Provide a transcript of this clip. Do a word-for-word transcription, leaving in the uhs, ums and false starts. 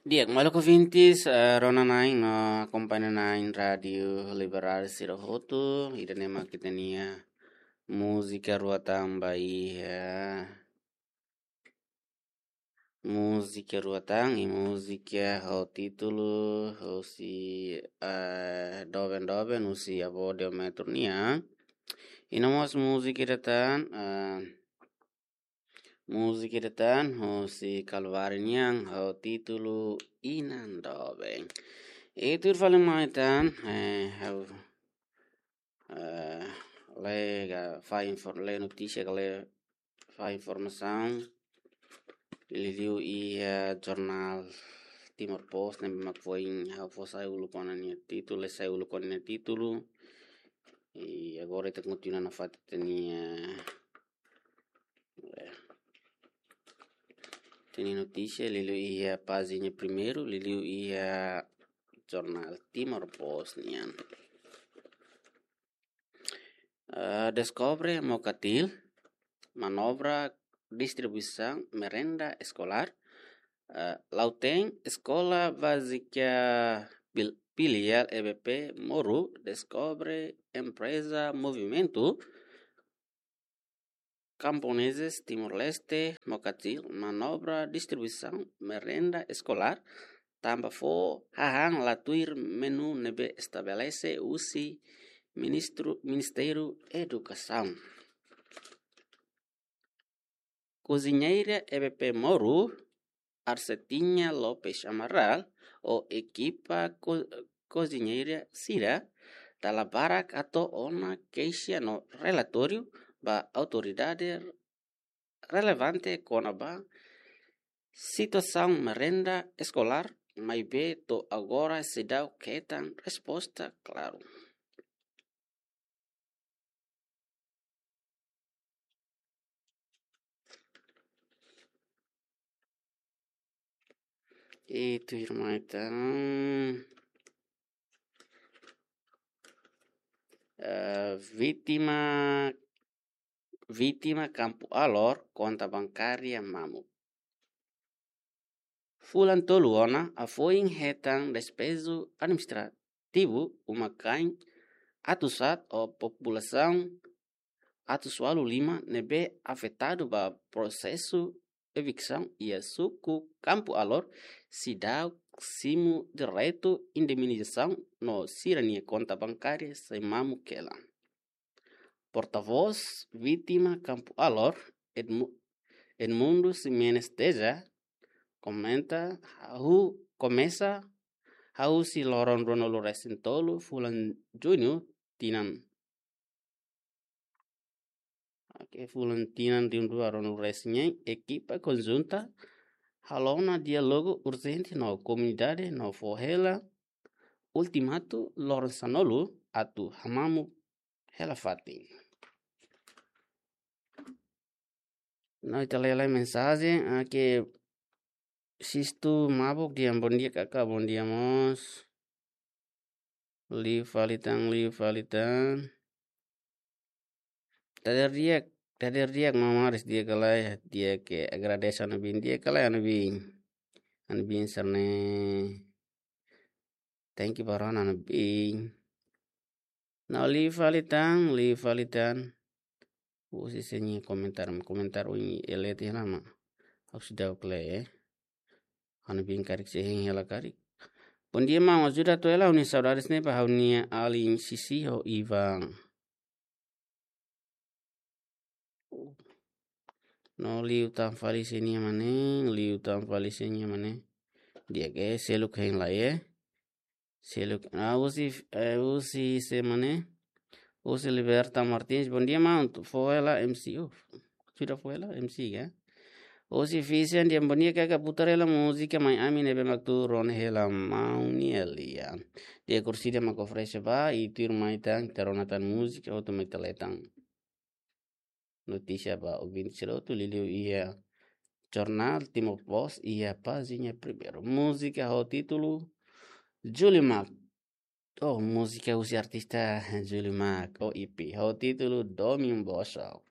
Di'ak, maluk ouvintes, eh, rona-na'in no akompaña-na'in Rádiu Liberal sira hotu, ida-ne'e mak ita-nia múzika rua tan ba iha, múzika rua tan, i múzika ho títulu husi, eh, doben-doben husi avó Deometro nian. I no mós múzika ida tan, eh, múzika ida tan husi Kalvari nian ho títulu Inan Doben. I tuir fali mai tan, eh, ha'u, eh, lee ka fahe infor-, lee notísia ka lee fahe informasaun liuliu iha jornál Timor Post ne'ebé mak foin ha'u fó sai uluk ona nia títulu, lee sai uluk ona nia títulu. I agora ita kontinua nafatin ita-nia, eh, ita-nia notísia liuliu iha pájina primeiru, liuliu iha jornál Timor Post nian. Eh, deskobre Mokatil, manobra distribuisaun merenda eskolár. Eh, Lautém, Eskola Bázika Pil-, Filiál E B P Moru deskobre empreza Movimentu Camponeses Timor-Leste, Mokatil, manobra distribuisaun merenda eskolár, tanba fó hahán la tuir menu ne'ebé estabelese husi Ministru-, Ministériu Edukasaun. Koziñeira E B P Moru, Arcetinha Lopes Amaral, ho ekipa ko-, koziñeira sira, dala barak hato'o ona keixa no relatóriu ba autoridade relevante kona-ba situasaun merenda eskolár, maibé to'o agora seidauk hetan resposta klaru. I tuirmai tan, eh, vítima, vítima Kampu Alor, konta bankária mamuk. Fulan tolu ona, hafoin hetan despeju administrativu uma-kain atus haat ho populasaun atus ualu lima ne'ebé afetadu ba prosesu eviksaun iha suku Kampu Alor, seidauk simu direitu indemnizasaun no sira-nia konta bankária sei mamuk hela. Portavós vítima Kampu Alor, Edmu-, Edmundo Ximenes Teja, komenta, hahú komesa, hahú husi loron ruanulu-resin-tolu fulan Juñu tinan. Oke, fulan tinan rihun rua ruanulu-resin-neen, ekipa konjunta halo ona diálogu urjente no komunidade no fó hela ultimatu loron sanulu atu hamamuk hela fatin. No ita lee lai mensajen, ah, ke Sistu Mabuk dehan, bondia kaka, bondia mós. Liu fali tan, liu fali tan. Dadeer di'ak, dadeer di'ak mamar, di'ak ka lae, di'ak ke agradese Ana Bin, di'ak ka lae Ana Bin. Ana Bin serne. Thank you ba rona Ana Bin. No liu fali tan, liu fali tan. Husi sira-nia komentar, komentar ohin lee tiha ona mak ha'u seidauk lee, eh. Ana Bin karik sei hein hela karik. Bondia maun, ajuda atu hela ha'u-nia saudades ne'e ba ha'u-nia alin Sisi ho Ivan. No liu tan fali sira-nia mane, liu tan fali sira-nia mane. Di'ak, eh, seluk hein lai, eh. Seluk, ah, husi, eh, husi sé mane. Husi Liberta Martins, bondia maun, atu fó hela M C. Oh, sudah fó hela M C ka? Husi Fisian dehan, bondia kaka, putar hela múzika Mai Ami ne'ebé mak tuur ona hela maun nia lian. Di'ak, kursida mak oferese ba, i tuirmai tan ita rona tan múzika, hotu mai ita lee tan notísia ba ouvinte sira hotu liuliu iha jornál Timor Post iha pájina primeiru. Múzika ho títulu Julimac. Oh, múzika husi artista Julimac, oh, E P ho títulu Domin Bosok.